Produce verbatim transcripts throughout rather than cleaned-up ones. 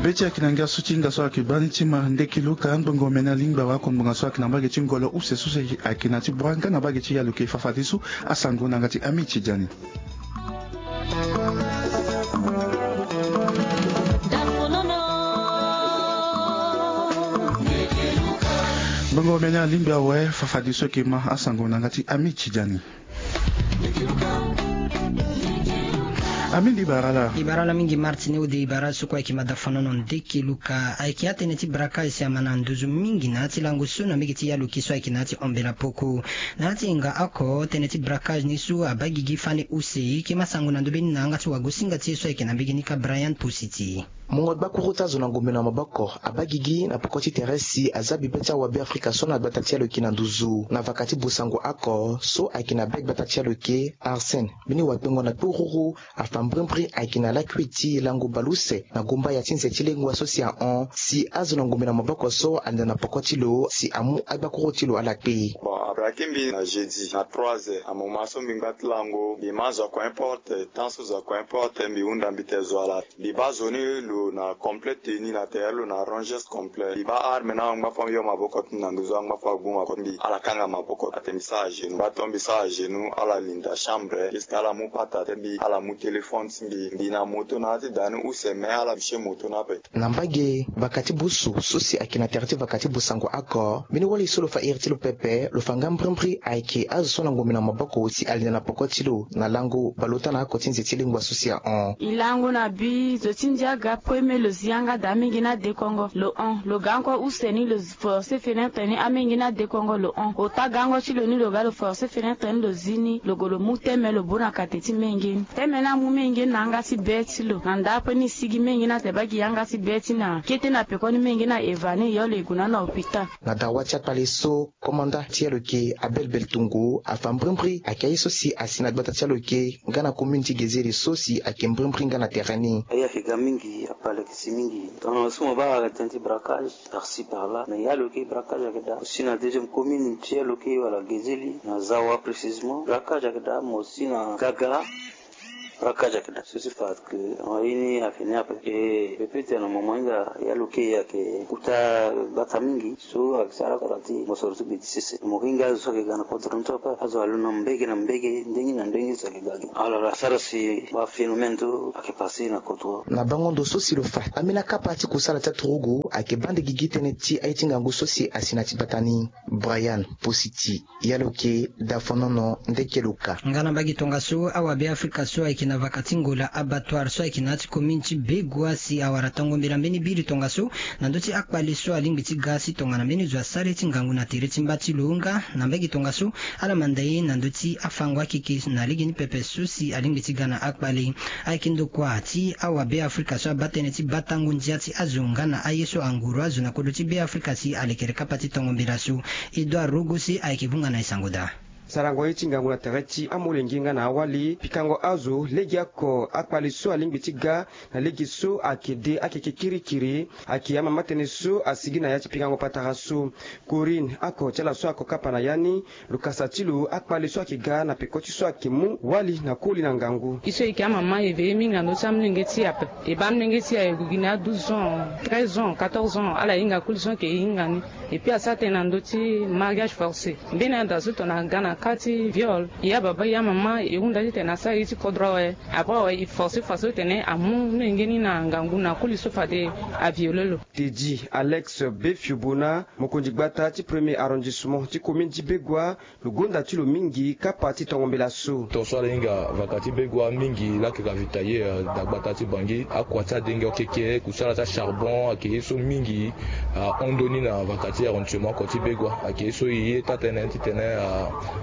Be ti ayeke na ngia so ti hinga so ayeke baa ni ti ma ndeki luka ngbongo mene alingbi awe ako ngbonga so ayeke na mbage ti ngolo use so si ayeke na ti bua nga na mbage ti yaloke fafadeso. Asango na yanga ti ami ti diani. Ngbongo mene alingbi awe fafadeso ayeke ma asango na yanga ti ami ti diani. Ami ndi bara ala. Ibara ala mingi martin ode ibara ala so kue ayeke mada fonono ndeke luka ayeke atene ti braquage si ama na nduzu mingi na ya ti lango so na mbege ti yaloke so ayeke na ya ti ombela poko. Na ya ti hinga oko tënë ti braquage ni so abaa gigi fani use kema sango na ndö be ni na yanga ti wagosinga ti e so ayeke na mbege ni ka brian positi. Mungo gbakuru ti azo na ngombe na maboko abaa gigi na poko ti tere si aza bibe ti awabe afrika so na gbata ti yaloke na nduzu na vaka ti busango oko so ayeke na be gbata ti yaloke arsène mbeni wakpengo na kpururu afa mbrimbri ayeke na lakui ti lango baleuse na gomba ya ti nze ti lengua so si ahon si azo na ngombe na maboko so alenda na poko ti lo si amu agbakuru ti lo ala kpe. Bon abraki mbi na jeudi na trois heures amoma so mbi ngba ti lango mbi ma zo ako importe temps so zo ako importe mbi hunda mbi te zo ala. Mbi baa zo ni lo na complet tenue na tere lo na rangers complet mbi baa arme ni angba fo mbi yo maboko ti mbi na nduzu angba fo agbu maboko ti mbi ala kanga maboko ate mbi sara genou ngba to mbi sara genou ala linda chambre jusque ala mu pata te mbi ala mu téléphone ti mbi mbi na moto na ya ti daa ni use me ala biche moto ni ape. Na mbage vaka ti busu so si ayeke na tere ti vaka ti busango oko mbeni wali so lo fa iri ti lo pepe lo fa nga mbrimbri ayeke azo so na ngombe na maboko si alinda na poko ti lo na lango baleota na oko ti nze ti lengua so si ahon. E lango na bi zo ti ndia aga premier lo zi yanga daa amenge ni adekongo lo hon lo ga encore use ni lo force fenetre ni amenge ni adekongo lo hon ota gango ti lo ni lo ga lo force fenetre ni lo zi ni lo gue lo mu teme lo bo na kate ti menge ni teme ni amu menge ni na yanga ti be ti lo na ndapre ni e sigi menge ni ate baa gi yanga ti be ti na kete na pekoni menge ni aeva ni e yo lo e gue na ni na hôpital. Na dawa ti akpale so komanda ti aloke abelbel tungu afa mbrimbri ayeke aye so si asi na gbata ti aloke nga na commune ti gezeli so si ayeke mbrimbri nga na tere ni. Aye ayeke ga mingi akpale ayeke si mingi tongana so mo baa ayeke tënë ti braquage par ci par là mais ya lo yeke braquage ayeke daa aussi na deuxième commune ti ya lo yeke wala gezeli na zawa précisement braquage ayeke daa mais aussi na gagara. Braquage ayeke daa so si fa ke en réuni ayeke ni ape e pe pe tene na moment hinga ya lo yeke ayeke kota gbata mingi so ayeke sara kota ti mosoro ti gbe ti sese mo hinga azo so ayeke ga na kodro ni so ape azo alo na mbege na mbege ndenge na ndenge so ayeke ga gi alors asara si baphénomène so ayeke passe na kodro. Na bango ndo so si lo fa ambeni akapa ti kusala ti aturugu ayeke bande gigi tënë ti aye ti ngangu so si asi na ti gbata ni. Brian positi ya lo yeke dafonono ndeke lo ka. Nga na mbage tongaso awabe afrika so ayeke na vaka ti ngola abattoir so ayeke na ya ti commune ti begua si awara tongo mbela mbeni biri tongaso na ndö ti akpale so alingbi ti ga si tongana mbeni zo asara ye ti ngangu na tere ti mba ti lo nga na mbage tongaso ala manda ye na ndö ti afango akeke na lege ni pepe so si alingbi ti ga na akpale. Ayeke ndokua ti awabe afrika so abaa tënë ti batango ndia ti azo nga na aye so anguru azo na kodro ti be afrika si alekere kapa ti tongo mbela so. Edouard rogo se ayeke vunga na e sango daa. Sarango ye ti ngangu na tere ti amolenge nga na awali pikango azo legeoko akpale so alingbi ti ga na lege so ayeke de akeke kirikiri. Ayeke amama tënë so asigi na ya ti pikango patara so. Corinne ako ti ala so ako kapa na ya ni lo kasa ti lo akpale so ayeke ga na peko ti so ayeke mu wali na koli na ngangu. E so e yeke amama e ve ye mingi na ndö ti amolenge ti e ape. E baa amolenge ti e aye gue gi na ya douze ans treize ans quatorze ans ala hinga koli so ayeke e hinga ni. Et puis asara tënë na ndö ti mariage forcé mbeni ada so tongana aga na ka ti viol e ya baba e ya mama e hunda titene asara ye ti kodro awe. Après awe e forcé fa so tene amu menge ni na ngangu na koli so fade aviole lo. Teddy alex befio bona mokonzi gbata ti premier arrondissement ti commune ti begua lo gonda ti lo mingi kapa ti tongo mbela so. Tongaso ala hinga vaka ti begua mingi lake ravitailler da gbata ti bangi akua ti adenge okeke kusala ti acharbon ayeke ye so mingi. Ahon ndoni na vaka ti arrondissement oko ti begua ayeke ye so e ye taa-tënë titene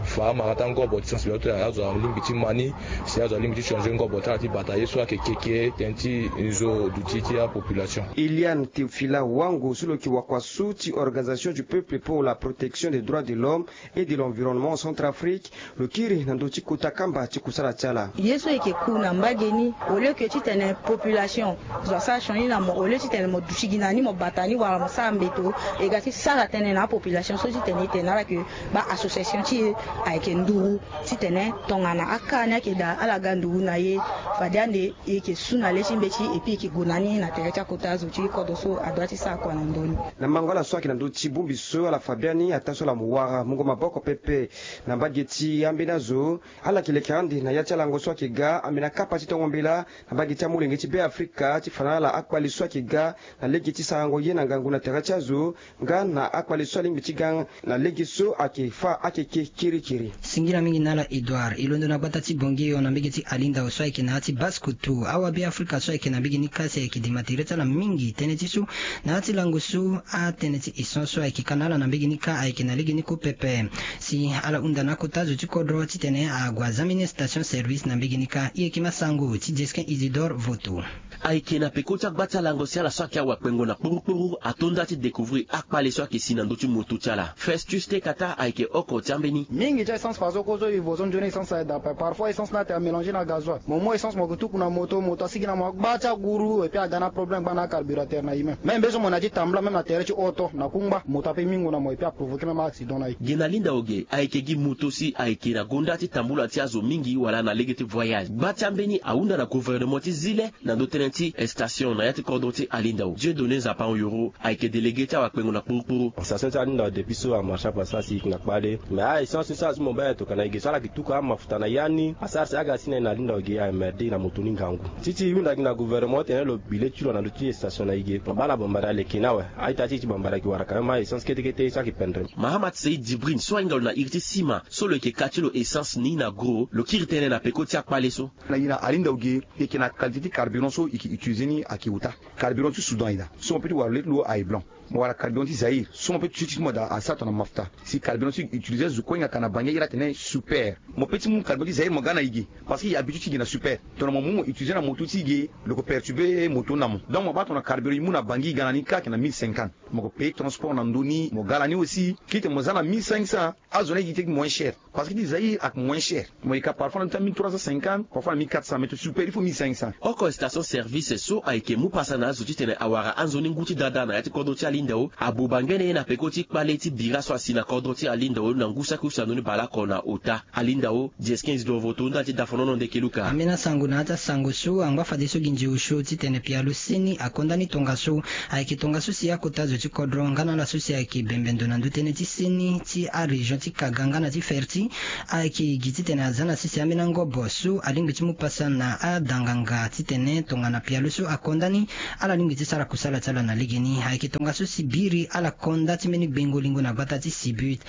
afa amara ti angobo ti sensibilisation ti azo alingbi ti ma ni si azo alingbi ti changer ngobo ti ala ti bata ye so ayeke keke tënë ti nzo duti ti apopulation. Eliane théophila wango so lo yeke wakua so ti organisation du peuple pour la protection des droits de l'homme et de l'environnement en centrafrique lo kiri na ndö ti kota kamba ti kusala ti ala. Ye so e yeke ku na mbage ni au lieu ke titene population zo asara sioni na mo au lieu titene mo duti gi na ni mo bata ni wala mo sara mbeto e ga ti sara tënë na apopulation so titene e tene na ala ke baassociation ti e Ayeke nduru titene tongana aka ni ayeke daa ala ga nduru na e. Fade ande e yeke su na le ti mbeti epui e yeke gue na ni na tere ti akota zo ti kodro so adoit ti sara kua na ndoni. Na mango ala so ayeke na ndö ti bongbi so ala fa biani ataa so ala mo wara mungo maboko pepe na mbage ti ambeni azo. Ala yeke leke ande na ya ti alango so ayeke ga ambeni akapa ti tongo mbela na mbage ti amolenge ti be afrika ti fa na ala akpale so ayeke ga na lege ti sarango ye na ngangu na tere ti azo. Nga na akpale so alingbi ti ga na lege so ayeke fa akeke kirikiri. Singila mingi na ala Edouard. E londo na gbata ti Bongi yo na mbege ti Alindao so ayeke na ya ti Basse-Kotto. Awabe afrika so ayeke na mbege ni kâ si ayeke dema tere ti ala mingi tënë ti so na ya ti lango so atënë ti essence so ayeke ka na ala na mbege ni kâ ayeke na lege ni kue pepe. Si ala hunda na akota zo ti kodro titene ague azambeni station service na mbege ni kâ. E yeke ma sango ti Jesquin Isidore Voto. Ayeke na peko ti agba ti alango si ala so ayeke awakpengo na kporokporo ato nda ti découvrir akpale so ayeke si na ndö ti moto ti ala. Festus Tekata ayeke oko ti ambeni. Mingi ti a-essence fa so ko so e vo so nzoni essence aye daa ape. Parfois essence ni atene amélanger na gazoil. Mo mu essence mo yeke tuku na moto, moto asigi na mo agba ti aguru epui aga na aproblème gbaa na acarburateur na e même. Même mbe so mo na ya ti tambula même na tere ti oto na kungba moto ape mingo na mo epui aprovoquer même accident na e. Ge na Linda Oge ayeke gi moto si ayeke na gonda ti tambula ti azo mingi wala na lege ti voyage. Gba ti ambeni ahunda na gouvernement ti zile na ndö tënë ti station na ya ti kodro ti Alindao. Dieudonné Nzapa Oyoro ayeke délégué ti awakpengo na kporokporo. Station ti Alindao depuis so amarche ape asara si e yeke na kpale. Mais a-essence so asara so mo baa e tokua na e ge so ala yeke tuku amafuta na ya ni asara si aga si na e na Alindao ge a-emmerde na moto ni ngangu. Ti ti e hunda gi na gouvernement titene lo bi le ti lo na ndö ti station na e ge. Mo baa na bambara aleke ni awe. A-ita ti e ti bambara ayeke wara quand même a-essence kete kete so ayeke pendre. Mahamat Seid Djibrine so ahinga lo na iri ti sima so lo yeke ka ti lo essence ni na gros lo kiri tënë na peko ti akpale so. Na e na Alindao ge e yeke na qualité ti carburant so e yeke utiliser ni ayeke ota. Carburant ti Soudan e daa so mo peut ti wara le ti lo aye blanc. Mo wara carburant ti Zaïre so mo peut ti ti mo daa asara tongana mafuta. Si carburant so e yeke utiliser zo kue hinga ka na Bangui aye ala tene super. Mo peut ti mu carburant ti Zaïre mo ga na e ge parce que e habitué ti ge na super. Tongana mo mu mo utiliser na moto ti e ge lo yeke perturber moto ni na mo. Donc mo baa tongana carburant e mu na Bangui e ga na ni kâ ayeke na mille cinquante. Mo yeke payer transport na ndö ni mo ga na ni aussi. Kite mo za na mille cinq cents. Azo ni ayeke ti moins cher. Parce que ti Zaïre ayeke moins cher. Mo yeke ka parfois na mille trois cent cinquante, parfois na mille quatre cents, mais to super il faut mille cinq cents. Oko station service so ayeke mu pasa na azo titene awara anzoni ngu ti dada na ya ti kodro ti Alindao abuba ngbene ye na peko ti kpale ti bira so asi na kodro ti Alindao na ngu saki use na ndoni baleoko na ota. Alindao, Jesquin Isidore Voto ndali ti dafonono ndeke luka. Ambeni asango na ya ti asango so angba fadeso gi nzeu so titene pialo seni akonda ni tongaso. Ayeke tongaso si akota zo ti kodro nga na ala so si ayeke bembe ndo na ndö tënë ti seni ti arégion ti Kaga nga na ti Ferti. Ayeke gi titene aza na sese ambeni angobo so alingbi ti mu pasa na adanganga titene tongana pialo so akonda ni ala lingbi ti sara kusala ti ala na legeni. Ayeke tongaso si biri ala konda ti mbeni gbengo lingo na gbata ti Sibut.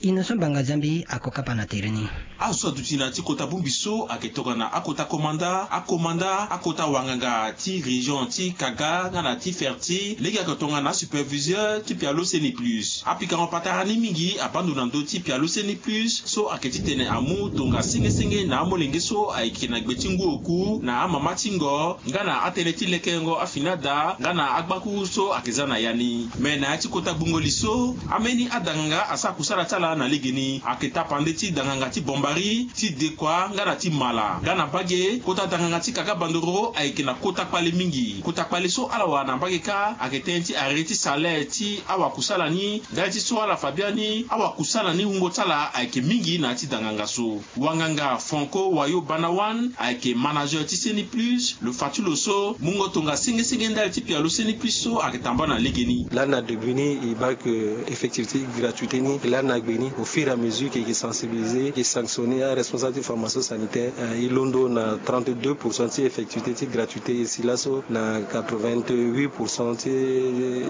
Innocent Banga Zambi ako kapa na tere ni. Azo so aduti na ya ti kota bongbi so ayeke tongana akota komanda, akomanda, akota wanganga ti région ti Kaga nga na ti Ferti, lege ayeke tongana asuperviseur ti pialo Seni Plus. Apikango patara ni mingi abaa ndo na ndö ti pialo Seni Plus so ayeke titene amu tonga senge senge na amolenge so ayeke na gbe ti ngu oku na amama ti ngo nga na atënë ti lekengo afini ada nga na agbakuru so ayeke za na ya ni. Me na ya ti kota gbungo li so, ambeni adanganga asara kusala ti ala na legeni. Ayeke tapande ti danganga ti Bombari, ti Dekua nga na ti Mala. Nga na mbage, kota danganga ti Kaga Bandoro ayeke na kota kpale mingi. Kota kpale so ala wara na mbage kâ ayeke tënë ti arrêt ti salaire ti awakusala ni. Ndali ti so ala fa biani, awakusala ni wungo ti ala ayeke mingi na ya ti danganga so. Wanganga Franco Wayo Banawan ayeke manager ti Seni Plus. Lo fa ti lo so mungo tonga senge senge ndali ti pialo Seni Plus so ayeke tambula na legeni. Lani na degbe ni e baa ke effectivité ti gratuité ni, lani na gbe ni au fur et à mesure ke e yeke sensibiliser, e yeke sanctionner aresponsable ti formation sanitaire. Eh, e londo na trente-deux pour cent ti effectivité ti gratuité, e si laso na quatre-vingt-huit pour cent ti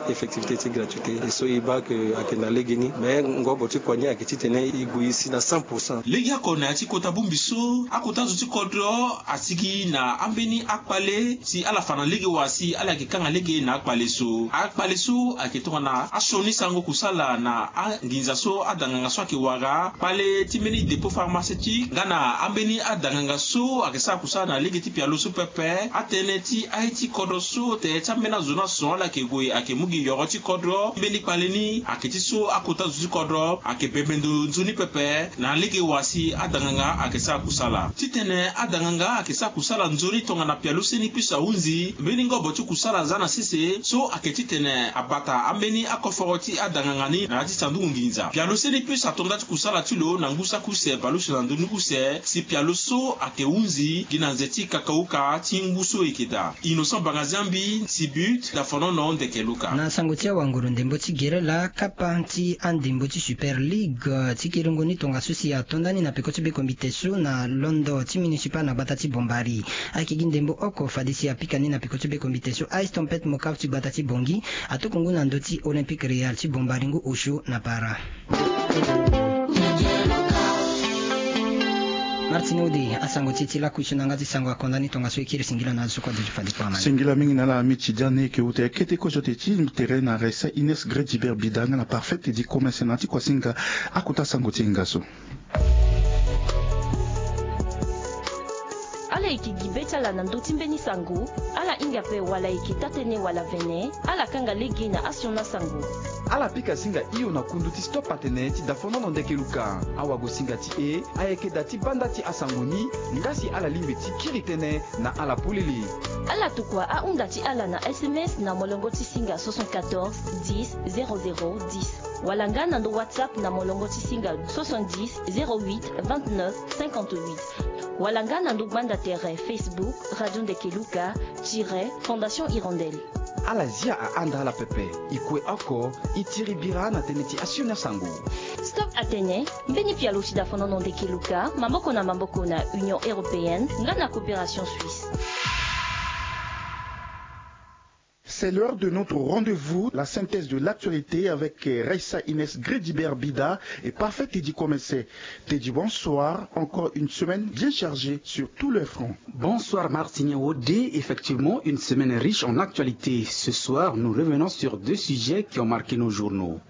effectivité ti gratuité. E so e baa ke ayeke na legeni, mais ngobo ti kua ni ayeke titene e gue e si na cent pour cent. Legeoko na ya ti kota bongbi so, akota zo ti kodro asigi na ambeni akpale si ala fa na lege wa si ala yeke kanga lege na akpale so. Akpale so ayeke tongana asioni sango kusala na anginza so adanganga so ayeke wara, kpale ti mbeni dépôt pharmaceutique nga na ambeni adanganga so ayeke sara kusala na lege ti pialo so pepe. Atënë ti aye ti kodro so tere ti ambeni azo ni aso ala yeke gue ayeke mu gi yoro ti kodro. Mbeni kpale ni ayeke ti so akota zo ti kodro ayeke bembe ndo nzoni pepe. Na lege wa si adanganga ayeke sara kusala titene adanganga ayeke sara kusala nzoni tongana pialo seni puce ahunzi mbeni ngobo ti kusala aza na sese so ayeke titene abata ambeni akoforo ti adanganga ni na ya ti sanduku nginza. Pialo seni puce ato nda ti kusala ti lo na ngu saki use baleuse na ndoni use si pialo so ayeke hunzi gi na nze ti kakauka ti ngu so e yeke daa. Innocent Bangaziambi, Sibut, Dafonono, Ndeke Luka. Na sango ti awanguru ndembo ti gere laa kapa ti andembo ti Super League ti kiringo ni tongaso si ato nda ni na peko ti bekombite so na londo ti municipal na gbata ti Bombari. Ayeke gi ndembo oko fade si apika ni na peko ti bekombite so Ice Tempête Mocaf ti gbata ti Bangui atokua ngu na ndö ti Olympique Real ti Bombari ngu osio na para. Martine Ode, asango ti e ti laku so na yanga ti sango akonda ni tongaso e kiri singila na azo so kue aduti fade kue amani. Singila mingi na ala miti dia ni e yeke uta kete kozo ti e ti tere na Raissa Ines Gredibert Bida nga na Parfait Teddy Commerce na ti kuasinga akota sango ti e nga so. Ala yeke gi be ti ala na ndö ti mbeni sango. Ala hinga ape wala e yeke taa-tënë wala vene, ala kanga lege na asioni asango. Ala pika singa hio na kundu ti Stop Atene ti Dafonono Ndeke Luka. Awagosinga ti e ayeke daa ti banda ti asango ni, nga si ala lingbi ti kiri tënë na ala polele. Ala tokua ahunda ti ala na S M S na molongo ti singa soixante-quatorze dix zéro zéro dix, wala nga na ndo WhatsApp na molongo ti singa soixante-dix zéro huit vingt-neuf cinquante-huit, wala nga na ndo gbanda tere Facebook Radio Ndeke Luka tiret Fondation Hirondelle. Ala zia ahanda ala pepe. E kue oko e tiri bira na tënë ti asioni asango. Stop Atene, mbeni pialo ti Dafonono Ndeke Luka maboko na maboko na Union Européenne nga na Coopération Suisse. C'est l'heure de notre rendez-vous, la synthèse de l'actualité avec Raissa Ines Gredibert Bida et Parfait Teddy Commerce. Teddy, bonsoir. Encore une semaine bien chargée sur tous les fronts. Bonsoir Martine Ode. Effectivement, une semaine riche en actualité. Ce soir, nous revenons sur deux sujets qui ont marqué nos journaux.